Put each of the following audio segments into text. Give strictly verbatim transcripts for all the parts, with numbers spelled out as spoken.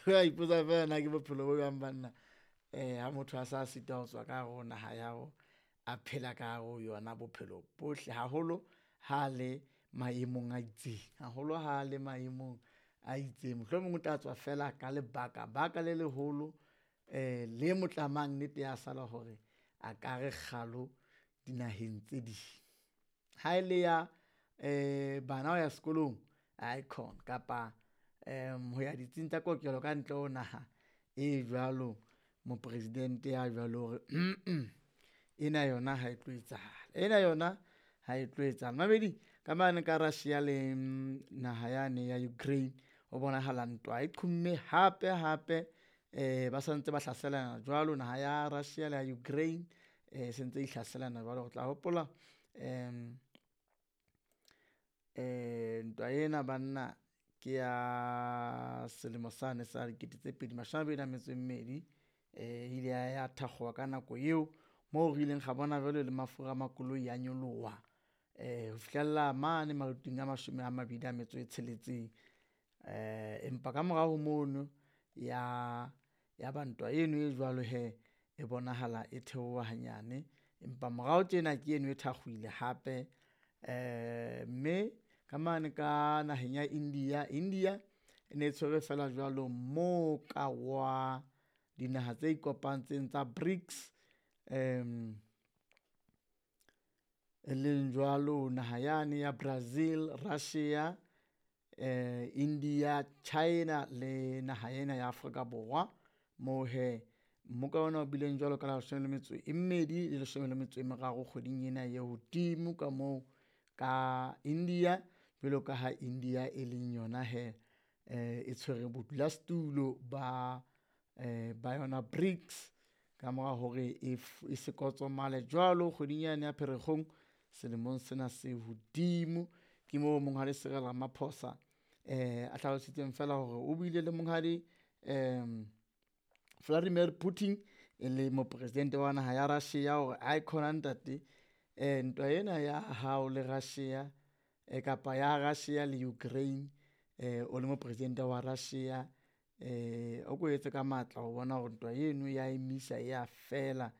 Wa ipotsa feela na ke bophelo bo jwang banna, eh ha motho a sa sitwa ho tswa ka hare ho naha ya hao, a phela ka hare ho yona bophelo bohle haholo ha le maemong a itseng, haholo ha le maemong a itseng. Mohlomong o tla tswa feela ka lebaka baka le leholo eh le mo tlamang nnete ya sala hore a ka re kgalo dinaheng tse ding. Ha ele ya eh bana ho ya sekolong aikhona kapa ho ya ditsing tsa kokelo ka ntle ho naha e jwalo, mopresidente ya jwalo hore ena yona ha e tlo etsahala, ena yona ha e tlo etsahala. Mamedi ka mane ka Russia le naha yane ya Ukraine ho bonahala ntwa e qhomme hape hape eh ba santse ba hlaselana jwalo naha ya Russia le ya Ukraine eh sentse di hlaselana jwalo. Re tla hopola ntwa ena banna ke ya selemo sane sa dikete tse pedi mashome a mabedi a metso e mmedi, e ile ya thakgoha ka nako eo moo re ileng ra bona jwale le mafura a makoloi a nyoloha ho fihlella mane maluting a mashome a mabedi a metso e tsheletseng. Empa ka morao ho mono ya ya ba ntwa eno e jwalo hee e bonahala e theoha hanyane, empa morao tjena ke eno e thakgohile hape mme ka mane ka naheng ya India, India e ne e tshwere feela jwalo mmoka wa dinaha tse ikopantseng tsa BRICS e leng jwalo naha yane ya Brazil, Russia, India, China le naha ena ya Afrika Borwa. Moo hee mmoka ona o bileng jwalo ka la leshome le metso e mmedi le leshome le metso e meraro kgweding ena e hodimo ka moo ka India. Jwalo ka ha India e leng yona hee e tshwere bodulasetulo ba ba yona BRICS ka mora hore e e se kotsomale jwalo kgweding yane ya Pherekgong selemong sena se hodimo. Ke moo Monghadi Cyril Ramaphosa a hlalositseng feela hore o buile le Monghadi Vladimir Putin e le mopresidente wa naha ya Russia hore aikhona ntate ntwa ena ya hao le Russia kapa ya Russia le Ukraine o le mopresidente wa Russia o ko etse ka matla ho bona hore ntwa eno ya emisa e ya fela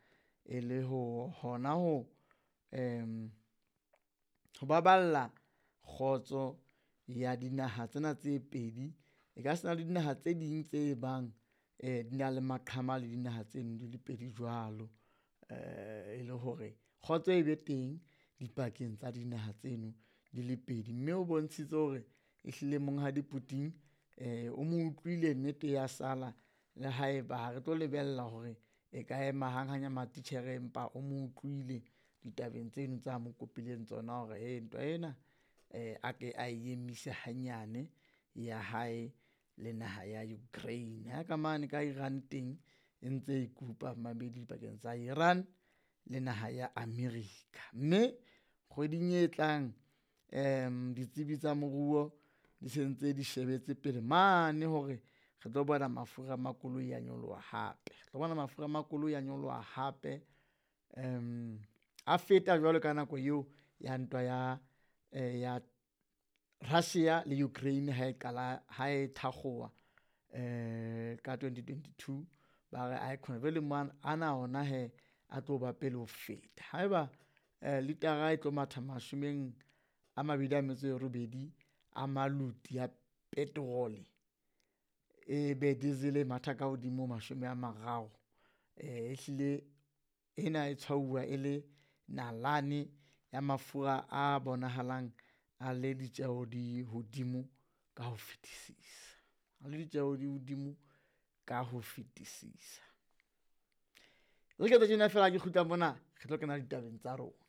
e le ho hona ho ho baballa kgotso ya dinaha tsena tse pedi. E ka se na le dinaha tse ding tse bang di na le maqhama le dinaha tseno di le pedi jwalo, e le hore kgotso e be teng dipakeng tsa dinaha tseno di le pedi. Mme o bontshitse hore ehlile Monghadi Putin o mo utlwile nnete ya sala le haeba ha re tlo lebella hore e ka ema hang hang matitjhere, empa o mo utlwile ditabeng tseno tsa mo kopileng tsona hore he ntwa ena a ke a emise hanyane ya hae le naha ya Ukraine. Ha ka mane ka Iran teng e ntse e kupa mmamedi dipakeng tsa Iran le naha ya America. Mme kgweding e tlang ditsebi tsa moruo di sentse di shebetse pele mane hore re tlo bona mafura a makoloi a nyoloha hape, re tlo bona mafura a makoloi a nyoloha hape a feta jwalo ka nako eo ya ntwa ya ya Russia le Ukraine ha e qala ha e thakgoha ka twenty twenty-two. Ba re aikhona jwale ana ona hee a tlo ba pele ho feta. Haeba litara e tlo matha mashomeng a mabedi a metso e robedi a maluti a petrol-e, e be diesel e matha ka hodimo mashome a mararo, ehlile ena e tshwauwa e le nalane ya mafura a bonahalang a le ditjeho di hodimo ka ho fetisisa, a le ditjeho di hodimo ka ho fetisisa. Re ke tjena feela ha ke kgutla mona re tlo kena ditabeng tsa rona.